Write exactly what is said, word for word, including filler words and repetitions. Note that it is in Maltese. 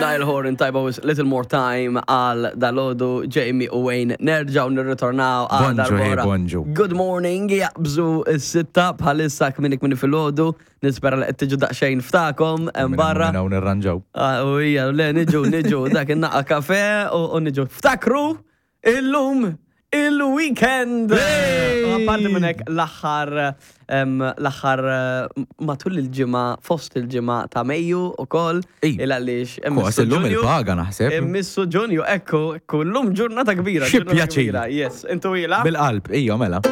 Niall Horan tajba with Little More Time għal dalgħodu. Jamie u Wayne nerġaw nirritornaw għal Bonġu, hey, darb'oħra. Bonġu. Good morning, jaqbżu s-sitta bħalissa kmieni kmieni filgħodu. Nispera li qed tiġu daqsxejn ftakom hemm barra. Minn hawn nirranġaw. Ah, u hija, le, niġu, niġu, dak in-naqra kafe u u niġu. Ftakru, illum il-weekend! Hey! U apparti minn hekk l-aħħar em, l-aħħar eh, matul il-ġimgħa, fost il-ġimgħa ta' Mejju ukoll, Ej. il għaliex Kos illum il-paga naħseb. Immissu Ġunju, ekku, ekku, llum ġurnata kbira. Xi Ġurnata pjaċir. kbira. Yes, intu ila? Bil-qalb, ija mela.